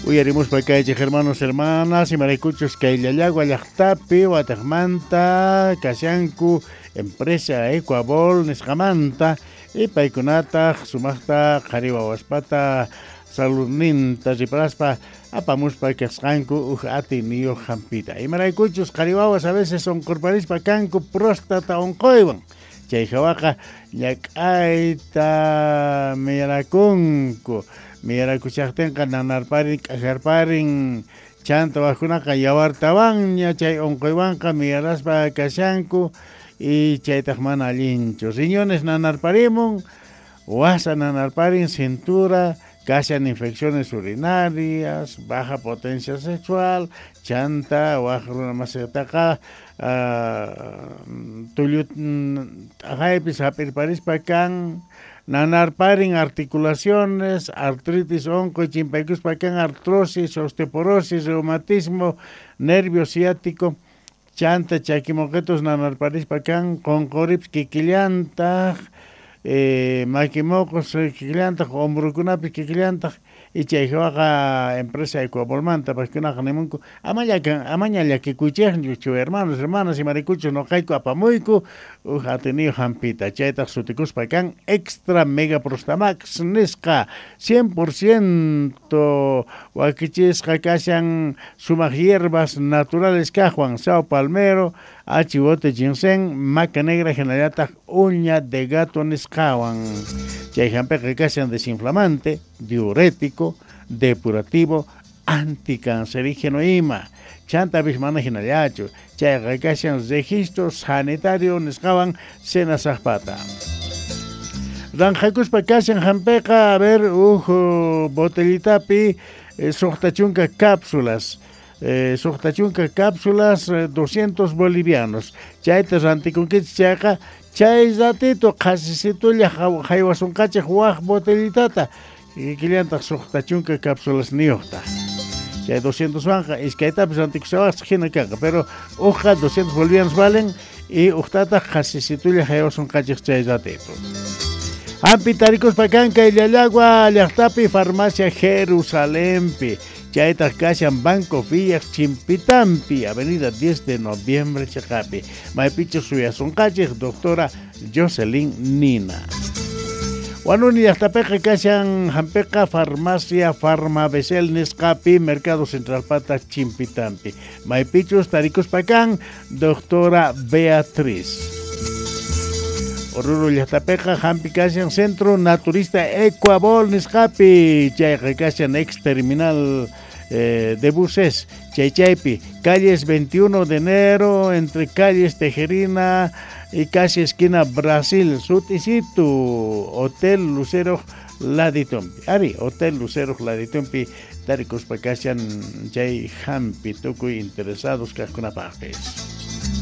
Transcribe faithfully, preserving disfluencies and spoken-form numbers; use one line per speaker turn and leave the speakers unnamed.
Uyarimuspa kaychik hermanos, hermanas, imaraykuchus kay Llallagua llaqtapi wataqmanta kashanku empresa Ecuabol nisqamanta y paykunataq sumaqta qhari wawaspata saludninta riparaspa apamuspa kasqanku uj atiyniyuq hampita. Imaraykuchus qhari wawas a veces unqurparispa kanku próstata unquywan. Chay hawaqa ñak'ayta miyarakunku. Miyarakushaqtinqa nanarparin, k'ajarparin, chanta wajkunaqa yawartawanña chay unquywanqa miyaraspa kashanku y chaytaq mana allinchu. Riñones nanarparimun, wasa nanarparin, cintura, kashan infecciones urinarias, baja potencia sexual, chanta waj runa masitaqa tullu t'aqaypis hap'irparispa kan, nanarparin articulaciones, artritis unquy chimpaykuspa kan artrosis, osteoporosis, reumatismo, nervio ciático, chanta chakimoqitus nanarparispa kan, qunquripis kikillantaq, eh, makimoqos kikillantaq, hombrokunapis kikillantaq, y chay hawaqa empresa Ecuabolmanta paykunaqa nimunku amaña amaña llakikuychikchu hermanos, hermanas, imaraykuchus nuqayku apamuyku uj atiyniyuq hampita chaytaq sutikuspa kan Extra Mega Prostamax nisqa cien por ciento wakichisqa kashan sumaq hierbas naturales kaqwan sao palmero, achiwote ginseng, maca negra hinallataq uña de gato nisqawan. Chay hampiqa kashan desinflamante, diurético, depurativo, anticancerígeno ima. Chantapis mana hinallachu. Chayqa kashan registro sanitario nisqawan senasaqpata. Ranjakuspa kashan hampiqa, a ver, uj botellitapi eh, suqta chunka cápsulas. Eh, suqta chunka cápsulas, eh, doscientos bolivianos. Chayta rantikunkichik chayqa chay ratito qhasisitulla haywasunqachik waj botellitata. Kikillantaq suqta chunka cápsulas niyuqta. Chay doscientos wanqa iskaytapis rantikushawaqchik hina kanqa, pero uqqa doscientos bolivianos valen y uqtataq qhasisitulla haywasunqachik chay ratito. Hampi tarikuspa kan kay Llallagua llaqtapi farmacia Jerusalempi. Chaytaq kashan Banco Villas Chimpitampi, Avenida diez de Noviembre chiqapi. Maypichu suyasunqachik doctora Jocelyn Nina. Wanuni llaqtapiqa kashan hampiqa farmacia Farmabesel nisqapi Mercado Central pata Chimpitampi. Maypichus tarikuspa kan doctora Beatriz. Oruro llaqtapiqa hampi kashan Centro Naturista Ecuabol nisqapi. Chayqa kashan ex terminal eh, de buses Chaychaypi, calles veintiuno de enero, entre calles Tejerina y casi esquina Brasil, Sutisitu, Hotel Lucero Laditumpi. Ari, Hotel Lucero Laditumpi, tarikuspa kashan chay hampi tukuy interesados kaqkunapaqpis.